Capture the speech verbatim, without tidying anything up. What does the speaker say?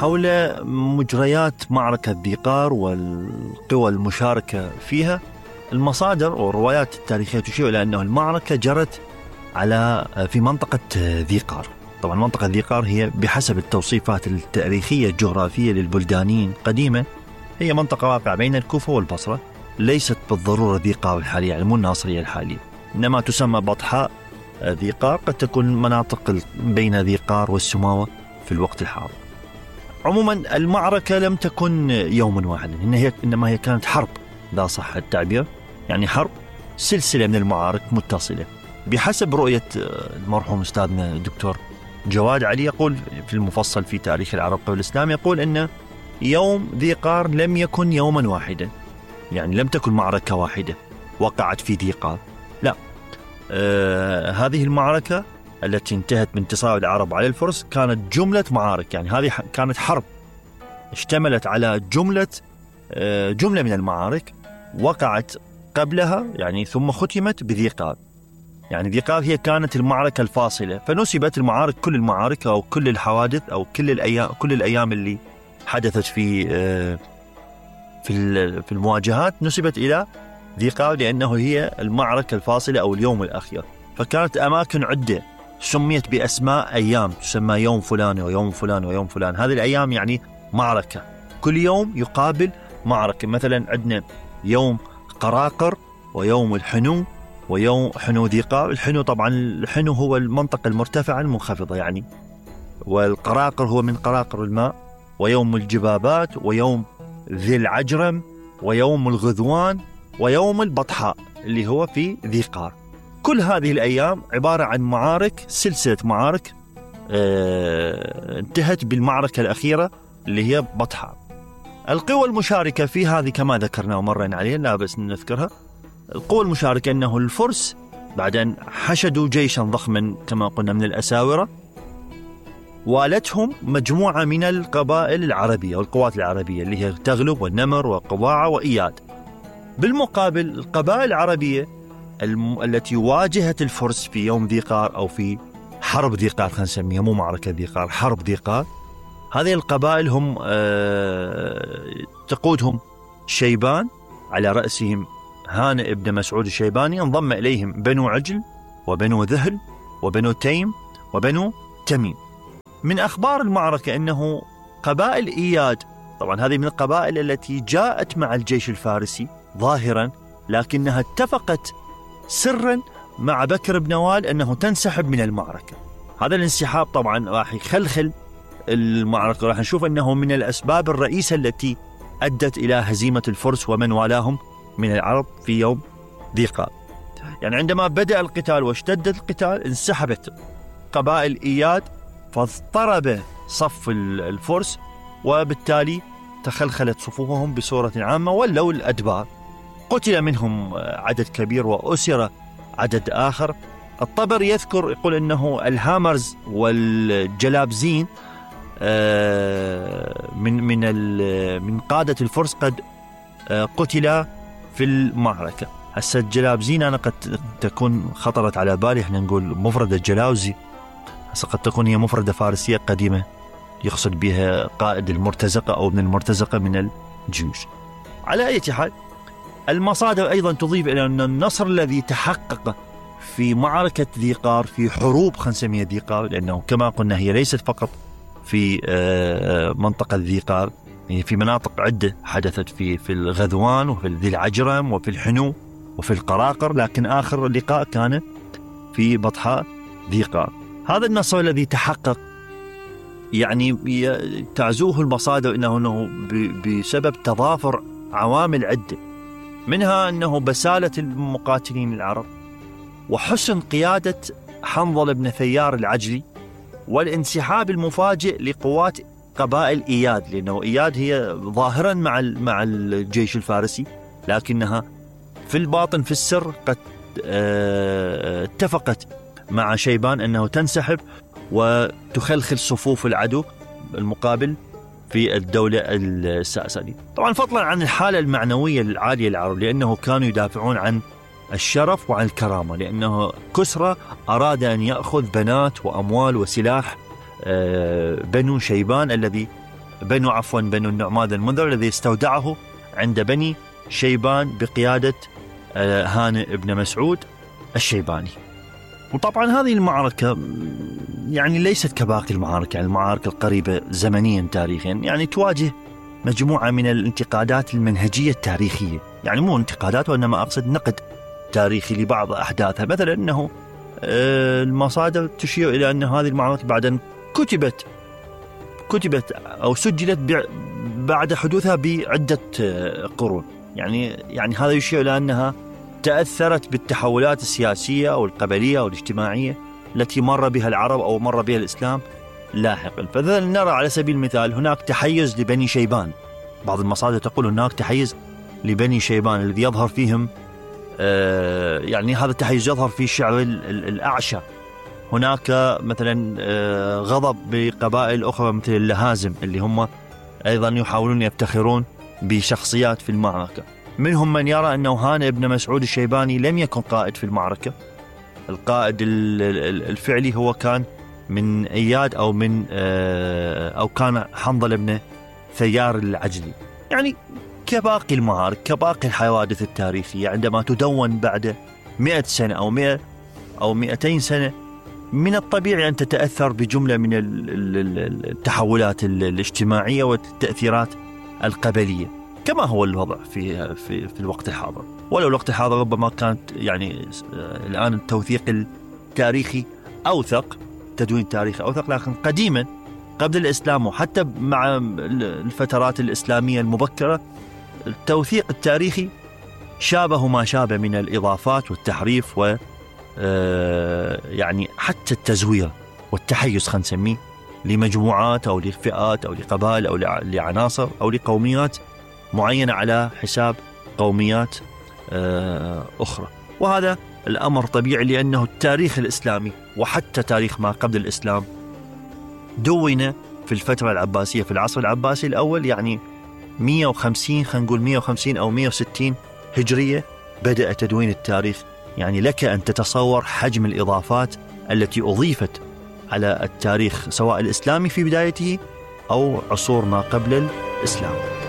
حول مجريات معركة ذي قار والقوى المشاركة فيها. المصادر والروايات التاريخية تشير إلى أن المعركة جرت على في منطقة ذي قار. طبعا منطقة ذي قار هي بحسب التوصيفات التاريخية الجغرافية للبلدانيين قديما هي منطقة واقعة بين الكوفة والبصرة، ليست بالضرورة ذي قار الحالية، يعني مو الناصرية الحالية، إنما تسمى بطحاء ذي قار، قد تكون مناطق بين ذي قار والسماوة في الوقت الحاضر. عموما المعركة لم تكن يوما واحدا، إنما هي كانت حرب، لا صح التعبير، يعني حرب سلسلة من المعارك متصلة بحسب رؤية المرحوم أستاذنا الدكتور جواد علي. يقول في المفصل في تاريخ العرب قبل الإسلام، يقول أن يوم ذي قار لم يكن يوما واحدا، يعني لم تكن معركة واحدة وقعت في ذي قار، لا. آه هذه المعركة التي انتهت بانتصار العرب على الفرس كانت جملة معارك، يعني هذه كانت حرب اشتملت على جملة آه جملة من المعارك وقعت قبلها، يعني ثم ختمت بذي قار. يعني ذي قار هي كانت المعركة الفاصلة، فنسبت المعارك كل المعارك أو كل الحوادث أو كل الأيام كل الأيام اللي حدثت في آه في في المواجهات نسبت إلى ذي قار، لأنه هي المعركة الفاصلة أو اليوم الأخير. فكانت أماكن عدة سميت بأسماء أيام، تسمى يوم فلان ويوم فلان ويوم فلان. هذه الأيام يعني معركة، كل يوم يقابل معركة. مثلا عندنا يوم قراقر ويوم الحنو ويوم حنو ذي قار. الحنو طبعا الحنو هو المنطقة المرتفعة المنخفضة يعني، والقراقر هو من قراقر الماء. ويوم الجبابات ويوم ذي العجرم ويوم الغذوان ويوم البطحاء اللي هو في ذي قار. كل هذه الأيام عبارة عن معارك، سلسلة معارك اه انتهت بالمعركة الأخيرة اللي هي بطحاء. القوى المشاركة في هذه كما ذكرنا ومرنا عليها، لا بس نذكرها. القوى المشاركة أنه الفرس بعد أن حشدوا جيشا ضخما كما قلنا من الأساورة، والتهم مجموعة من القبائل العربية والقوات العربية اللي هي تغلب والنمر وقواعة وإياد. بالمقابل القبائل العربية الم... التي واجهت الفرس في يوم ذي قار أو في حرب ذي قار، خلينا نسميها مو معركة ذي قار، حرب ذي قار. هذه القبائل هم آه... تقودهم شيبان، على رأسهم هانئ ابن مسعود الشيباني، انضم إليهم بنو عجل وبنو ذهل وبنو تيم وبنو تميم. من أخبار المعركة أنه قبائل إياد، طبعا هذه من القبائل التي جاءت مع الجيش الفارسي ظاهرا، لكنها اتفقت سرا مع بكر بن نوال أنه تنسحب من المعركة. هذا الانسحاب طبعا راح يخلخل المعركة، راح نشوف أنه من الأسباب الرئيسة التي أدت إلى هزيمة الفرس ومن والاهم من العرب في يوم ذي قار. يعني عندما بدأ القتال واشتد القتال انسحبت قبائل إياد فاضطرب صف الفرس، وبالتالي تخلخلت صفوفهم بصورة عامة ولوا الأدبار. قتل منهم عدد كبير وأسر عدد آخر. الطبري يذكر يقول أنه الهامرز والجلابزين من من من قادة الفرس قد قتل في المعركة. هسه الجلابزين أنا قد تكون خطرت على بالي، احنا نقول مفردة جلاوزي، هسه قد تكون هي مفردة فارسية قديمة يقصد بها قائد المرتزقة أو ابن المرتزقة من الجيوش. على أي حال المصادر أيضا تضيف إلى أن النصر الذي تحقق في معركة ذي قار، في حروب خلينا نسميها ذي قار، لأنه كما قلنا هي ليست فقط في منطقة ذي قار، هي في مناطق عدة حدثت في في الغذوان وفي ذي العجرم وفي الحنو وفي القراقر، لكن آخر لقاء كان في بطحاء ذي قار. هذا النصر الذي تحقق يعني تعزوه المصادر إنه بسبب تضافر عوامل عدة، منها أنه بسالة المقاتلين العرب وحسن قيادة حنظل بن ثيار العجلي والانسحاب المفاجئ لقوات قبائل إياد، لأنه إياد هي ظاهرا مع مع الجيش الفارسي، لكنها في الباطن في السر قد اتفقت مع شيبان أنه تنسحب وتخلخل صفوف العدو المقابل في الدولة الساسانية. طبعا فضلا عن الحالة المعنوية العالية للعرب، لأنه كانوا يدافعون عن الشرف وعن الكرامة، لأنه كسرى أراد أن يأخذ بنات وأموال وسلاح بنو شيبان الذي بنو عفوا بنو النعمان المنذر الذي استودعه عند بني شيبان بقيادة هانئ بن مسعود الشيباني. وطبعا هذه المعركة يعني ليست كباقي المعارك، يعني المعارك القريبة زمنيا تاريخيا، يعني تواجه مجموعة من الانتقادات المنهجية التاريخية، يعني مو انتقادات وإنما أقصد نقد تاريخي لبعض أحداثها. مثلا أنه المصادر تشير إلى أن هذه المعركة بعد كتبت كتبت أو سجلت بعد حدوثها بعدة قرون، يعني يعني هذا يشير إلى أنها تأثرت بالتحولات السياسية أو القبلية أو الاجتماعية التي مر بها العرب أو مر بها الإسلام لاحقا. فذل نرى على سبيل المثال هناك تحيز لبني شيبان، بعض المصادر تقول هناك تحيز لبني شيبان الذي يظهر فيهم آه يعني هذا التحيز يظهر في شعر الأعشى. هناك مثلا آه غضب بقبائل أخرى مثل اللهازم اللي هم أيضا يحاولون يفتخرون بشخصيات في المعركة. منهم من يرى أنه هانئ بن مسعود الشيباني لم يكن قائد في المعركة، القائد الفعلي هو كان من إياد أو من أو كان حنظل بن ثيار العجلي. يعني كباقي المعارك كباقي الحوادث التاريخية عندما تدون بعد مئة سنة أو مئة أو مئتين سنة من الطبيعي أن تتأثر بجملة من التحولات الاجتماعية والتأثيرات القبلية كما هو الوضع في في في الوقت الحاضر. ولو الوقت الحاضر ربما كانت يعني الآن التوثيق التاريخي أوثق، تدوين تاريخي أوثق، لكن قديما قبل الإسلام وحتى مع الفترات الإسلامية المبكرة التوثيق التاريخي شابه ما شابه من الإضافات والتحريف و يعني حتى التزوير والتحيز خلينا نسميه لمجموعات أو لفئات أو لقبائل أو لعناصر أو لقوميات معينة على حساب قوميات أخرى. وهذا الأمر طبيعي لأنه التاريخ الإسلامي وحتى تاريخ ما قبل الإسلام دون في الفترة العباسية في العصر العباسي الأول، يعني مئة وخمسين خلينا نقول مئة وخمسين أو مئة وستين هجرية بدأ تدوين التاريخ. يعني لك أن تتصور حجم الإضافات التي أضيفت على التاريخ سواء الإسلامي في بدايته أو عصور ما قبل الإسلام.